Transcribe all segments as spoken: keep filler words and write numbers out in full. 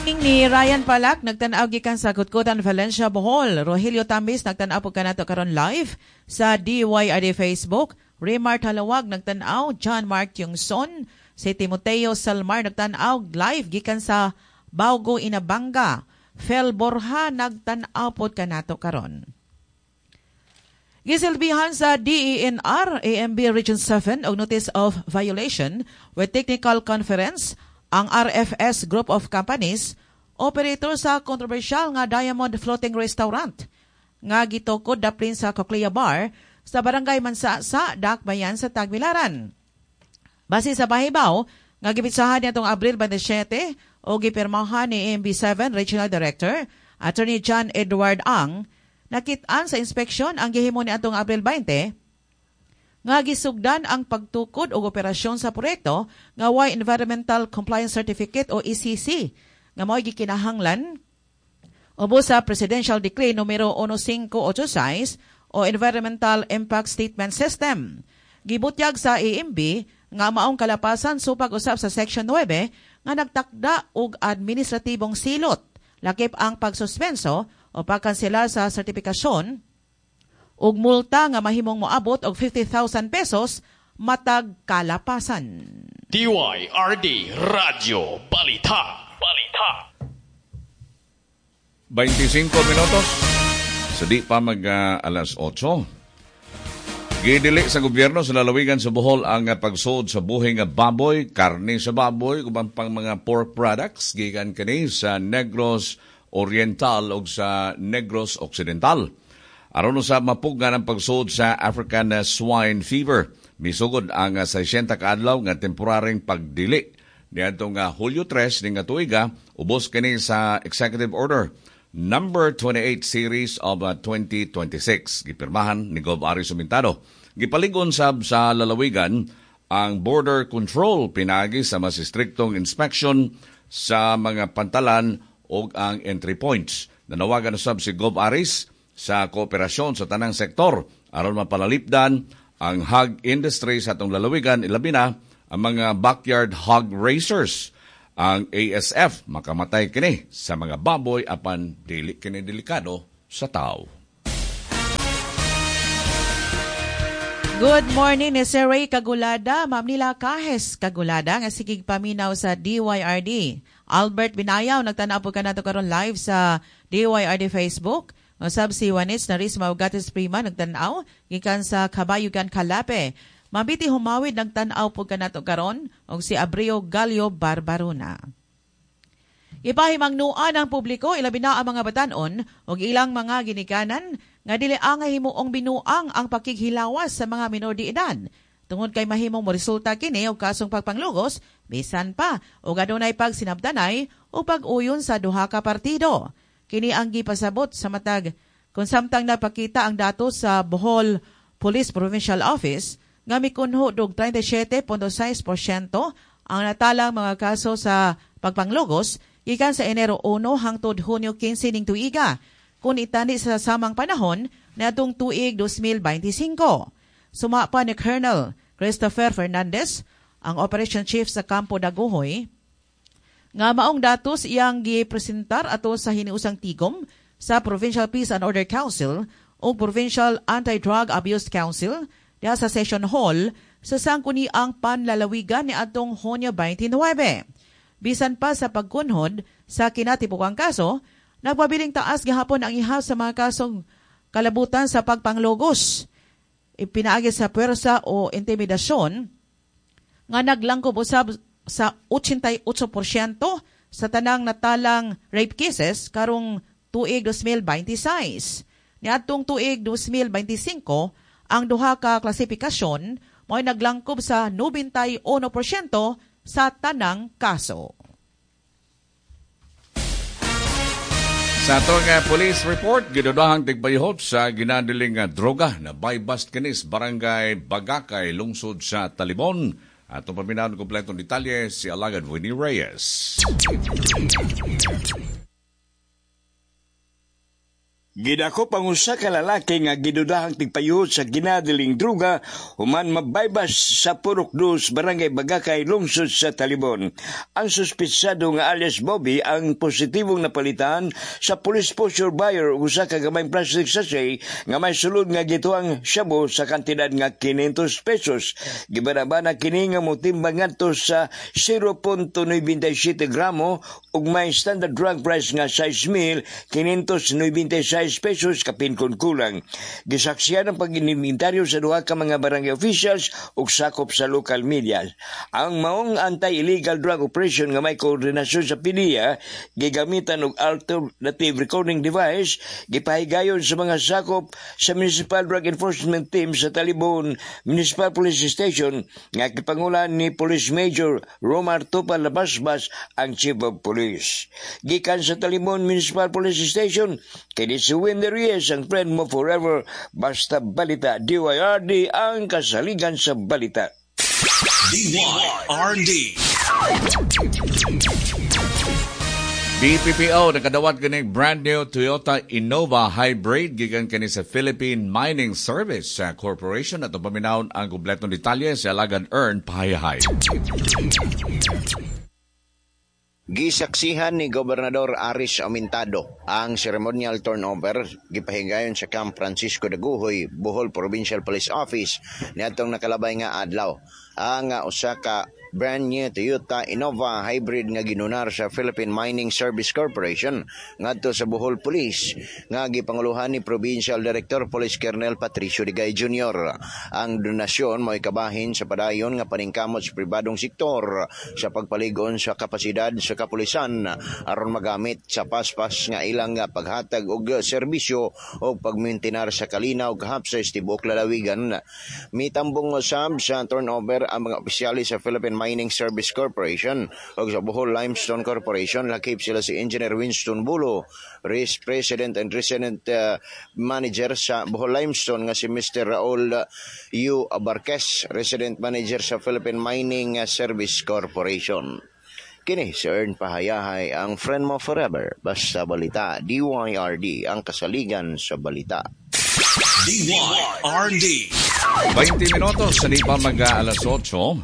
Ni Ryan Palak, nagtan-aw gikan sa Kutkutan, Valencia, Bohol. Rogelio Tambis, nagtan-aw po kanato karon live sa D Y R D Facebook. Remar Talawag, nagtan-aw. John Mark Yungson, si Timoteo Salmar, nagtan-aw live gikan sa Baugo, Inabanga. Fel Borja, nagtan-aw pod kanato karon. Gisilbihan sa D E N R A M B Region seven og Notice of Violation with Technical Conference ang R F S Group of Companies, operator sa kontrobersyal nga Diamond Floating Restaurant nga gitukod daplin sa Cochlea Bar sa Barangay Mansa-sa, Dakbayan sa Tagbilaran. Base sa pahibaw nga gipitsahan niadtong Abril twenty-seven o gipirmahan ni A M B seven Regional Director Attorney John Edward Ang, nakit-an sa inspeksyon ang gihimo niadtong Abril twenty nga gisugdan ang pagtukod og operasyon sa proyekto nga way Environmental Compliance Certificate o E C C nga mao'y gikinahanglan ubos sa Presidential Decree numero fifteen eighty-six o Environmental Impact Statement System. Gibutyag sa A M B nga maong kalapasan supag usab sa Section nine nga nagtakda og administratibong silot, lakip ang pagsuspenso o pagkansela sa sertifikasyon ug multa nga mahimong moabot og fifty thousand pesos matag kalapasan. D Y R D Radyo Balita. Balita. twenty-five minutos sa di pa mag uh, alas otso. Gidili sa gobyerno sa lalawigan sa Bohol ang uh, pagsuod sa buhi nga baboy, karne sa baboy, uban pang mga pork products gikan kini sa Negros Oriental o sa Negros Occidental. Aron sa mapugnan ang pagsuod sa African Swine Fever, misugod ang sixty kaadlaw nga temporaryong pagdili niadtong uh, Hulyo tres ning tuiga, ubos kini sa Executive Order Number twenty-eight Series of uh, twenty twenty-six. Gipirmahan ni Gov Aris Sumintado. Gipaligon sab sa lalawigan ang border control pinagi sa mas istriktong inspection sa mga pantalan o ang entry points. Nanawagan usab si Gov Aris sa kooperasyon sa tanang sektor aron mapalalipdan ang hog industry sa atong lalawigan, ilabi na ang mga backyard hog raisers. Ang A S F makamatay kini sa mga baboy apan dili kini delikado sa tao. Good morning ni Sir Ray Kagulada, Ma'am Nila Kahes Kagulada, nga sigig paminaw sa D Y R D. Albert Binayaw, nagtanaw po kanato karon live sa D Y R D Facebook. Usab si Juanis Naris Maugatis Prima, nagtanaw gikan sa Kabayugan, Calape. Mabiti Humawid, nagtanaw po kanato karon, ug si Abrio Galio Barbaruna. Ipahimangnuan ang publiko, ilabi na ang mga batanon ug ilang mga ginikanan, nga dili angay himuong binuang ang pakighilawas sa mga minor de edad. Tungod kay mahimong moresulta kini og kasong pagpanglugos, bisan pa og adunay pagsinabtanay o pag-uyon sa duha ka partido. Kini ang gipasabot sa matag kung samtang napakita ang datos sa Bohol Police Provincial Office nga mikunho og thirty-seven point six porsyento ang natalang mga kaso sa pagpanglugos gikan sa Enero uno hangtod Hunyo kinse ning tuiga kung itani sa samang panahon niadtong tuig twenty twenty-five. Suma pa ni Colonel Christopher Fernandez, ang Operation Chief sa Kampo Dagohoy, nga maong datos iyang gipresentar ato sa hiniusang tigom sa Provincial Peace and Order Council o Provincial Anti-Drug Abuse Council diha sa Session Hall sa Sangkuniang Panlalawigan ni atong Hunyo twenty-nine. Bisan pa sa pagkunhod sa kinatibukang kaso, nagpabiling taas gihapon ang ihaw sa mga kasong kalabutan sa pagpanglugos ipinaagi sa puwersa o intimidasyon nga naglangkob usab sa eighty-eight porsyento sa tanang natalang rape cases karong tuig twenty twenty-six. Niadtong tuig twenty twenty-five, ang duha ka klasifikasyon mo'y naglangkob sa ninety-one porsyento sa tanang kaso. Sa atong uh, police report, gidudahang tigbayhot sa ginadiling uh, droga na buy-bust kinis Barangay Bagakay, lungsod sa Talibon. Atong paminahon kompletong detalye si Alagad Winnie Reyes. Gidakop ang usa ka lalaki nga gidudahang tigpayuhot sa ginadiling druga human mabaybas sa Purok Dos, Barangay Bagakay, lungsod sa Talibon. Ang suspitsado nga alias Bobby ang positibong napalitan sa police posture buyer ug usa ka gamayng plastic sachet nga may sulod nga gituang shabu sa kantidad nga kinyentos pesos. Gibanabana kini nga motimbang ngadto sa zero punto nine seven gramo ug may standard drug price nga sais mil kinyentos nobenta'y sais pesos kapin kon kulang. Gisaksiyan ang pag-inimbentaryo sa duha ka mga barangay officials ug sakop sa local media. Ang maong anti-illegal drug operation nga may koordinasyon sa P D E A, gigamitan og alternative recording device, gipahigayon sa mga sakop sa Municipal Drug Enforcement Team sa Talibon Municipal Police Station nga gipangulan ni Police Major Romar Tupal Labasbas, ang Chief of Police. Gikan sa Talibon Municipal Police Station, kini si Wendy Reyes, ang friend mo forever, basta balita. D Y R D, ang kasaligan sa balita. D Y R D. B P P O nakadawat kini brand new Toyota Innova Hybrid gikan kini sa Philippine Mining Service Corporation. At paminawon ang kumpletong detalye sa alagad Ern Pahayahay. Gisaksihan ni Gobernador Aris Aumentado ang ceremonial turnover gipahigayon sa Camp Francisco Dagohoy, Bohol Provincial Police Office niadtong nakalabay nga adlaw. Ang usa ka brand new Toyota Innova Hybrid nga ginunar sa Philippine Mining Service Corporation ngadto sa Bohol Police nga gipanguluhan ni Provincial Director Police Colonel Patricio Digay Junior Ang donasyon mo'y kabahin sa padayon nga paningkamot sa pribadong sektor sa pagpaligon sa kapasidad sa kapulisan aron magamit sa paspas nga ilang paghatag og serbisyo o pagmintinar sa kalinaw kahapsay sa tibuok lalawigan. Mitambong usab sa turnover ang mga opisyalis sa Philippine Mining Service Corporation ug sa Bohol Limestone Corporation. Lakip sila si Engineer Winston Bulo, Vice President and Resident uh, Manager sa Bohol Limestone nga si Mister Raul U. Abarquez, Resident Manager sa Philippine Mining Service Corporation. Kini si Ern Pahayahay, ang friend mo forever. Basta balita, D Y R D, ang kasaligan sa balita. D Y R D. twenty minutos sa di pa mag alas otso,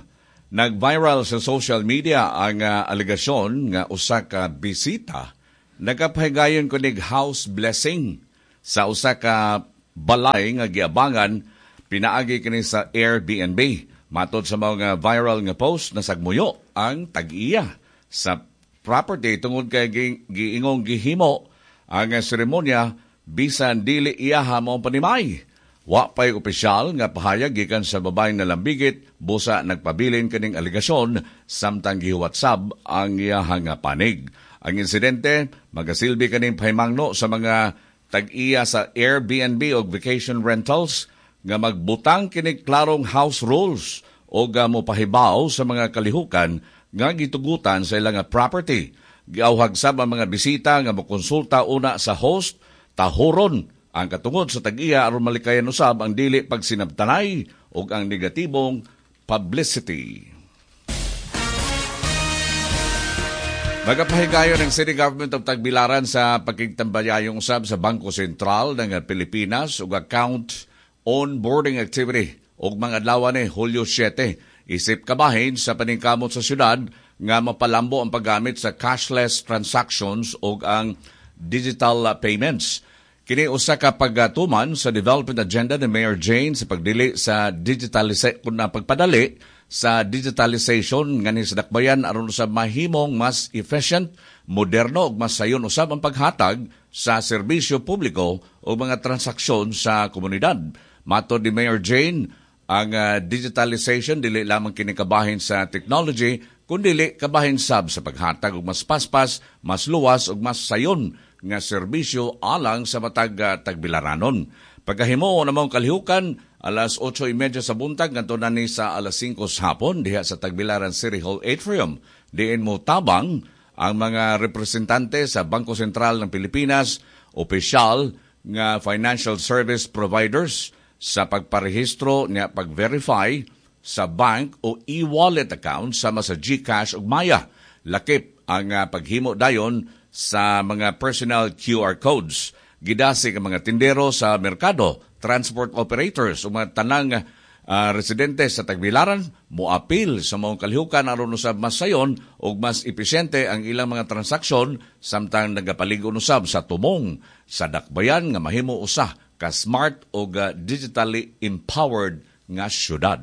nag-viral sa social media ang uh, alegasyon nga usa ka bisita nagapahigayon kunig house blessing sa usa ka balay nga giabangan pinaagi kini sa Airbnb. Matod sa mga viral nga post, nasagmuyo ang tag-iya sa property tungod kay giingong gihimo ang seremonya bisan dili iyaha mo panimay. Wa pa'y opisyal nga pahayag gikan sa babaeng nalambigit, busa nagpabilin kaning alegasyon samtang gihuwat sab ang iyahang panig. Ang insidente magasilbi kaning pahimangno sa mga tag-iya sa Airbnb o vacation rentals nga magbutang kini klarong house rules o mopahibaw sa mga kalihukan nga gitugutan sa ilang property. Giauhag sab ang mga bisita nga mokonsulta una sa host, tahuron ang katungod sa tag-iya aron malikayan usab ang dili pagsinabtanay ug ang negatibong publicity. Magapahigayon ang City Government of Tagbilaran sa pagkigtambayayong usab sa Bangko Sentral ng Pilipinas ug account onboarding activity ug mga adlaw ni Hulyo siyete, isip kabahin sa paningkamot sa syudad nga mapalambo ang paggamit sa cashless transactions ug ang digital payments. Kini usa ka pagtuman sa development agenda ni Mayor Jane sa pagdili sa digitalisation kun pagpadali sa digitalization ngani sa dakbayan aron sa mahimong mas efficient, moderno ug mas sayon usab ang paghatag sa serbisyo publiko o mga transaksyon sa komunidad. Matod ni Mayor Jane, ang uh, digitalization dili lamang kini kabahin sa technology kundi kabahin sab sa paghatag og mas paspas, mas luwas ug mas sayon nga serbisyo alang sa matag uh, tagbilaranon. Pagkahimo namang kalihukan, alas otso treinta sa buntag ngadto na ni sa alas singko sa hapon diha sa Tagbilaran City Hall Atrium. Diin mo tabang ang mga representante sa Bangko Sentral ng Pilipinas, opisyal nga financial service providers sa pagparehistro niya pag-verify sa bank o e-wallet account sama sa GCash ug Maya. Lakip ang uh, paghimo dayon sa mga personal Q R codes. Gidasig ang mga tindero sa merkado, transport operators ug mga tanang uh, residente sa Tagbilaran moapil sa maong kalihukan aron usab mas sayon ug mas episyente ang ilang mga transaksyon samtang nagapalig-on usab sa tumong sa dakbayan nga mahimo usa ka smart ug uh, digitally empowered nga syudad.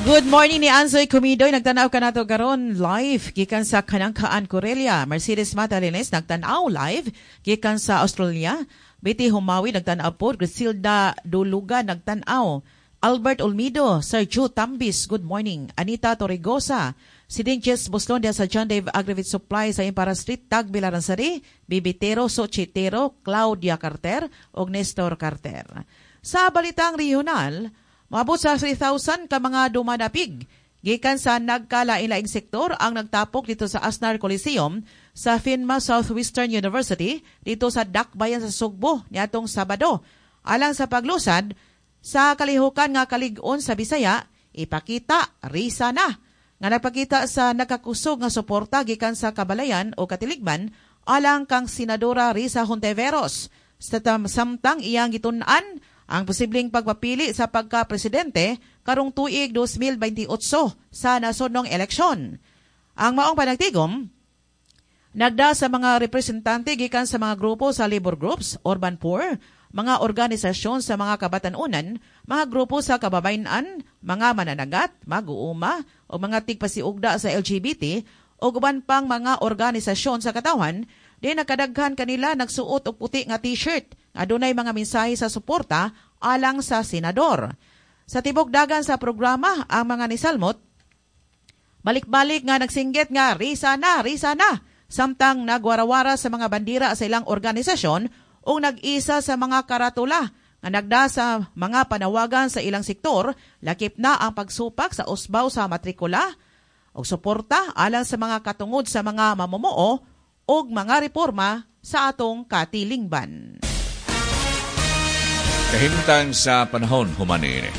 Good morning ni Ansoy Kumidoy. Nagtanaw ka nato karon live gikan sa Kanangkaan, Corelia. Mercedes Matalines nagtanaw live gikan sa Australia. Betty Humawi nagtanaw po. Griselda Duluga nagtanaw. Albert Olmido, Sergio Tambis, good morning. Anita Torregosa, Sidinches Buslon sa John Dave Agrivit Supply sa Impara Street, Tagbilaran Sari, Bibitero, Sochitero, Claudia Carter ug Nestor Carter. Sa balitang regional, maabot sa three thousand ka mga dumadapig gikan sa nagkalain-laing sektor ang nagtapok dito sa Asnar Coliseum sa PHINMA Southwestern University dito sa Dakbayan sa Sugbo niadtong Sabado. Alang sa paglusad sa kalihukan nga kalig-on sa Bisaya, ipakita Risa na nga nagpakita sa nakakusog nga suporta gikan sa kabalayan o katiligman alang kang Senadora Risa Hontiveros sa samtang iyang gitun-an ang posibleng pagpapili sa pagka-presidente karong tuig twenty twenty-eight sa nasodnong eleksyon. Ang maong panagtigom nagda sa mga representante gikan sa mga grupo sa labor groups, urban poor, mga organisasyon sa mga kabatanunan, mga grupo sa kababayan-an, mga mananagat, mag-uuma, o mga tigpasiugda sa L G B T, o uban pang mga organisasyon sa katawan, di nakadaghan kanila nagsuot og puti nga t-shirt. Adunay mga mensahe sa suporta alang sa senador. Sa tibok dagan sa programa, ang mga nisalmot, balik-balik nga nagsinggit nga, Risa na, Risa na, samtang nagwarawara sa mga bandira sa ilang organisasyon o nag-isa sa mga karatula nga nagda sa mga panawagan sa ilang sektor, lakip na ang pagsupak sa usbaw sa matrikula o suporta alang sa mga katungod sa mga mamumuo o mga reforma sa atong katilingban. Kahimtang sa panahon, human ini.